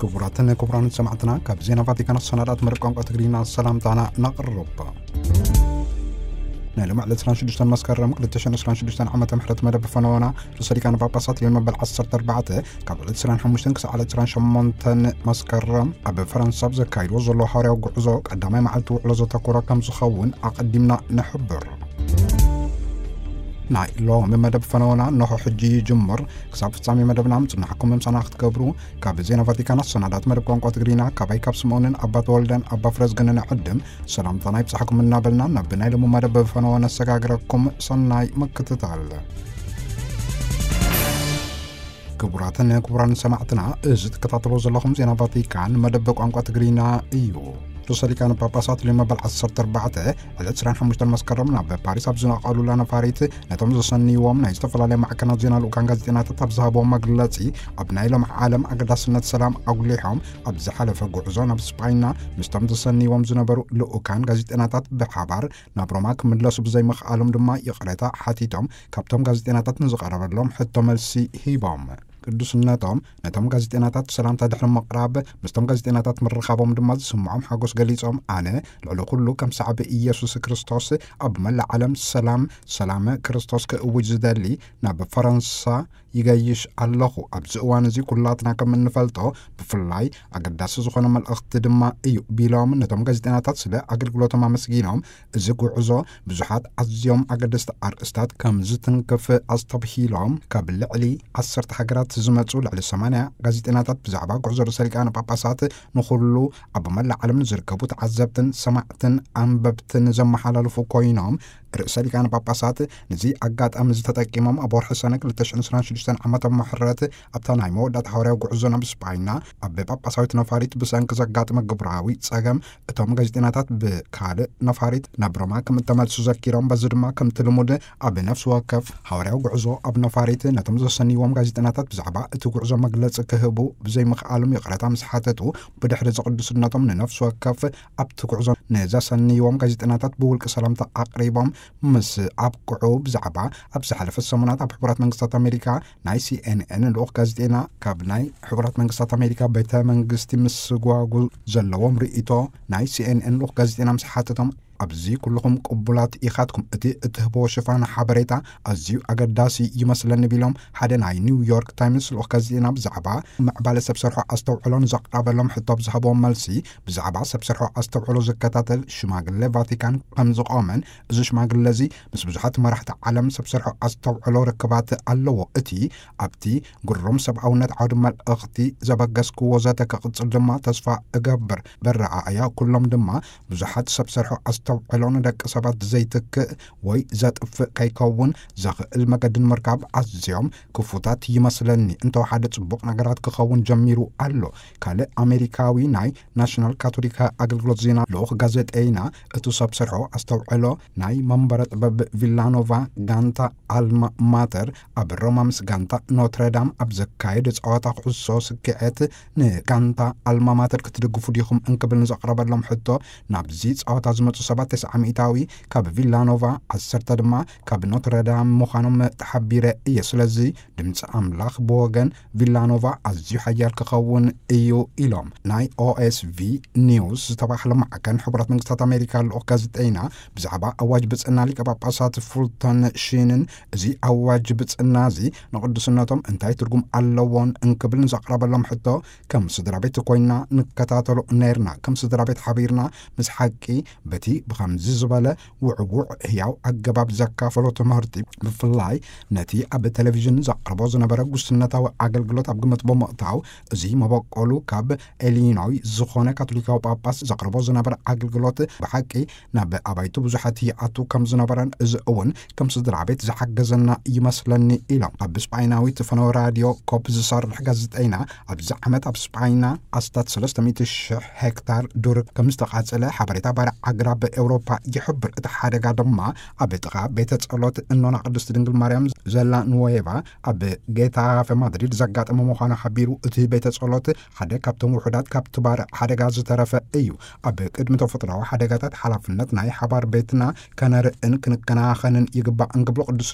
ክቡራትን ክቡራንን ሰማዕትና፣ ካብ ዜና ቫቲካን ሰናዳት መደብ ቋንቋ ትግርኛ ሰላምታና ነቕርብ። ናይ ሎሚ ዕለት ዕስራን ሽዱሽተን መስከረም ክልተ ሽሕን ዕስራን ሽዱሽተን ዓመተ ምህረት መደብ ፈነወና ርእሰ ሊቃነ ጳጳሳት ሊዮን መበል ዓሰርተ ኣርባዕተ ካብ ዕለት ዕስራን ሓሙሽተን ክሳዕ ዕለት ዕስራን ሸሞንተን መስከረም ኣብ ፈረንሳ ኣብ ዘካይድዎ ዘሎ ሃዋርያዊ ጉዕዞ ቀዳማይ መዓልቲ ውዕሎ ዘተኮረ ከም ዝኸውን ኣቐዲምና ንሕብር። ናይ ሎሚ መደብ ፈነወና እንሆ ሕጂ ይጅምር። ክሳብ ፍጻሜ መደብና ምጽናሕኩም ምሳና ክትገብሩ ካብ ዜና ቫቲካን ኣሰናዳት መደብ ቋንቋ ትግርኛ ካባይ ካብ ስምኦንን ኣባ ተወልደን ኣባ ፍረዝግንን ዕድም ሰላምታና ይብጻሕኩም እናበልና ናብ ናይ ሎሚ መደብ ፈነወ ነሰጋግረኩም። ሰናይ ምክትታል። ክቡራትን ክቡራን ሰማዕትና፣ እዚ ትከታተሎ ዘለኹም ዜና ቫቲካን መደብ ቋንቋ ትግርኛ እዩ። ርእሰ ሊቃነ ጳጳሳት ሊዮ መበል ዓሰርተ ኣርባዕተ ዕለት ዕስራን ሓሙሽተን መስከረም ናብ ፓሪስ ኣብ ዝነቐሉላ ነፋሪት ነቶም ዘሰንይዎም ናይ ዝተፈላለያ ማዕከናት ዜና ልኡካን ጋዜጠኛታት ኣብ ዝሃብዎም መግለጺ፣ ኣብ ናይ ሎሚ ዓለም ኣገዳስነት ሰላም ኣጉሊሖም፣ ኣብ ዝሓለፈ ጉዕዞ ናብ ስጳይና ምስቶም ዘሰንይዎም ዝነበሩ ልኡካን ጋዜጠኛታት ብሓባር ናብ ሮማ ክምለሱ ብዘይምኽኣሎም ድማ ይቕሬታ ሓቲቶም፣ ካብቶም ጋዜጠኛታት ንዝቐረበሎም ሕቶ መልሲ ሂቦም። ቅዱስነቶም ነቶም ጋዜጠኛታት ሰላምታ ድሕሪ ምቕራብ፣ ምስቶም ጋዜጠኛታት ምርኻቦም ድማ ዝስምዖም ሓጎስ ገሊጾም፣ ኣነ ልዕሊ ኩሉ ከም ሰዓቢ ኢየሱስ ክርስቶስ ኣብ መላእ ዓለም ሰላም፣ ሰላም ክርስቶስ ክእውጅ ዝደሊ ናብ ፈረንሳ ይገይሽ ኣለኹ። ኣብዚ እዋን እዚ ኩላትና ከም እንፈልጦ፣ ብፍላይ ኣገዳሲ ዝኾነ መልእኽቲ ድማ እዩ ቢሎም፣ ነቶም ጋዜጠኛታት ስለ ኣገልግሎቶም ኣመስጊኖም፣ እዚ ጉዕዞ ብዙሓት ኣዝዮም ኣገደስቲ ኣርእስታት ከም ዝትንክፍ ኣስተብሂሎም፣ ካብ ልዕሊ ዓሰርተ ሃገራት ዝመጹ ልዕሊ ሰማንያ ጋዜጠኛታት ብዛዕባ ጉዕዞ ርእሰ ሊቃነ ጳጳሳት ንኹሉ ኣብ መላእ ዓለም ንዝርከቡ ተዓዘብትን ሰማዕትን ኣንበብትን ዘመሓላልፉ ኮይኖም፣ ርእሰ ሊቃነ ጳጳሳት ነዚ ኣጋጣሚ እዚ ተጠቂሞም ኣብ ወርሒ ሰነ ክልተ ሽሕን ዕስራን ሽዱሽተን ዓመተ ምሕረት ኣብታ ናይ መወዳእታ ሃዋርያዊ ጉዕዞ ናብ ስጳይና ኣብ ጳጳሳዊት ነፋሪት ብሰንኪ ዘጋጠመ ግብራዊ ጸገም እቶም ጋዜጠኛታት ብካልእ ነፋሪት ናብ ሮማ ከም እተመልሱ ዘኪሮም፣ በዚ ድማ ከምቲ ልሙድ ኣብ ነፍሲ ወከፍ ሃዋርያዊ ጉዕዞ ኣብ ነፋሪት ነቶም ዘሰንይዎም ጋዜጠኛታት ብዛዕባ እቲ ጉዕዞ መግለጺ ክህቡ ብዘይምኽኣሎም ይቕረታ ምስ ሓተቱ፣ ብድሕሪ እዚ ቅዱስነቶም ንነፍሲ ወከፍ ኣብቲ ጉዕዞ ንዘሰንይዎም ጋዜጠኛታት ብውልቂ ሰላምታ ኣቕሪቦም ምስ ኣብቅዑ፣ ብዛዕባ ኣብ ዝሓለፈ ሰሙናት ኣብ ሕቡራት መንግስታት ኣሜሪካ ናይ ሲ ኤን ኤን ልኡኽ ጋዜጠኛ ካብ ናይ ሕቡራት መንግስታት ኣሜሪካ ቤተ መንግስቲ ምስጓጉ ዘለዎም ርእይቶ ናይ ሲ ኤን ኤን ልኡኽ ጋዜጠኛ ምስ ሓተቶም፣ ኣብዚ ኩልኹም ቅቡላት ኢኻትኩም፣ እቲ እትህብዎ ሽፋን ሓበሬታ ኣዝዩ ኣገዳሲ ይመስለኒ ቢሎም፣ ሓደ ናይ ኒውዮርክ ታይምስ ልኡኽ ጋዜጠኛ ብዛዕባ ምዕባለ ሰብ ሰርሖ ኣስተውዕሎ ንዘቕረበሎም ሕቶ ኣብ ዝሃብዎም መልሲ፣ ብዛዕባ ሰብ ሰርሖ ኣስተውዕሎ ዝከታተል ሽማግለ ቫቲካን ከም ዝቖመን፣ እዚ ሽማግለ እዚ ምስ ብዙሓት መራሕቲ ዓለም ሰብ ሰርሖ ኣስተውዕሎ ርክባት ኣለዎ። እቲ ኣብቲ ግሩም ሰብኣውነት ዓውዲ መልእኽቲ ዘበገስክዎ ዘተ ክቕጽል ድማ ተስፋ እገብር። በረኣእያ ኩሎም ድማ ብዙሓት ሰብ ሰርሖ ኣስተውዕሎ ንደቂ ሰባት ዘይትክእ ወይ ዘጥፍእ ከይከውን ዘኽእል መገዲ ንምርካብ ኣዝዮም ክፉታት ይመስለኒ። እንተወሓደ ጽቡቕ ነገራት ክኸውን ጀሚሩ ኣሎ። ካልእ ኣሜሪካዊ ናይ ናሽናል ካቶሊክ ኣገልግሎት ዜና ልኡኽ ጋዜጠይና፣ እቲ ሰብ ሰርሖ ኣስተውዕሎ ናይ መንበረ ጥበብ ቪላኖቫ ጋንታ ኣልማ ማተር ኣብ ሮማ ምስ ጋንታ ኖትረዳም ኣብ ዘካየደ ጸዋታ ኩዕሶ ስክዔት ንጋንታ ኣልማ ማተር ክትድግፉ ዲኹም እንክብል ንዘቕረበሎም ሕቶ፣ ናብዚ ጸዋታ ዝመጹ ሰባት ተስዓ ሚእታዊ ካብ ቪላኖቫ፣ ዓሰርተ ድማ ካብ ኖትረዳም ምዃኖም ተሓቢረ እየ። ስለዚ ድምፂ ኣምላኽ ብወገን ቪላኖቫ ኣዝዩ ሓያል ክኸውን እዩ ኢሎም። ናይ ኦኤስቪ ኒውስ ዝተባህለ ማዕከን ሕቡራት መንግስታት ኣሜሪካ ልኡኽ ጋዜጠይና ብዛዕባ ኣዋጅ ብፅዕና ሊቀ ጳጳሳት ፉልተን ሺንን፣ እዚ ኣዋጅ ብፅዕና እዚ ንቅዱስነቶም እንታይ ትርጉም ኣለዎን እንክብል ንዘቕረበሎም ሕቶ፣ ከም ስድራ ቤት ኮይና ንከታተሎ ነርና፣ ከም ስድራ ቤት ሓቢርና ምስ ሓቂ በቲ ብኸምዚ ዝበለ ውዕዉዕ ህያው ኣገባብ ዘካፈሎ ትምህርቲ፣ ብፍላይ ነቲ ኣብ ቴሌቪዥን ዘቕርቦ ዝነበረ ጉስነታዊ ኣገልግሎት ኣብ ግምት ብምእታው፣ እዚ መበቆሉ ካብ ኢሊኖይ ዝኾነ ካቶሊካዊ ጳጳስ ዘቕርቦ ዝነበረ ኣገልግሎት ብሓቂ ናብ ኣባይቱ ብዙሓት ይኣቱ ከም ዝነበረን፣ እዚ እውን ከም ስድራ ቤት ዝሓገዘና ይመስለኒ ኢሎም። ኣብ ስጳይናዊት ፈነወ ራድዮ ኮፕ ዝሰርሕ ጋዜጠይና፣ ኣብዚ ዓመት ኣብ ስጳይና ኣስታት ሰለስተ ሚእቲ ሽሕ ሄክታር ዱር ከም ዝተቓጸለ ሓበሬታ ባርዕ ኣግራብ ኤውሮፓ ይሕብር። እቲ ሓደጋ ድማ ኣብ ጥቓ ቤተ ጸሎት እኖና ቅድስቲ ድንግል ማርያም ዘላ ኑዌቫ ኣብ ጌታፈ ማድሪድ ዘጋጠመ ምዃኑ ሓቢሩ። እቲ ቤተ ጸሎት ሓደ ካብቶም ውሑዳት ካብቲ ባርዕ ሓደጋ ዝተረፈ እዩ። ኣብ ቅድሚ ተፈጥሮኣዊ ሓደጋታት ሓላፍነት ናይ ሓባር ቤትና ከነርእን ክንከናኸንን ይግባእ እንክብሉ ቅዱስ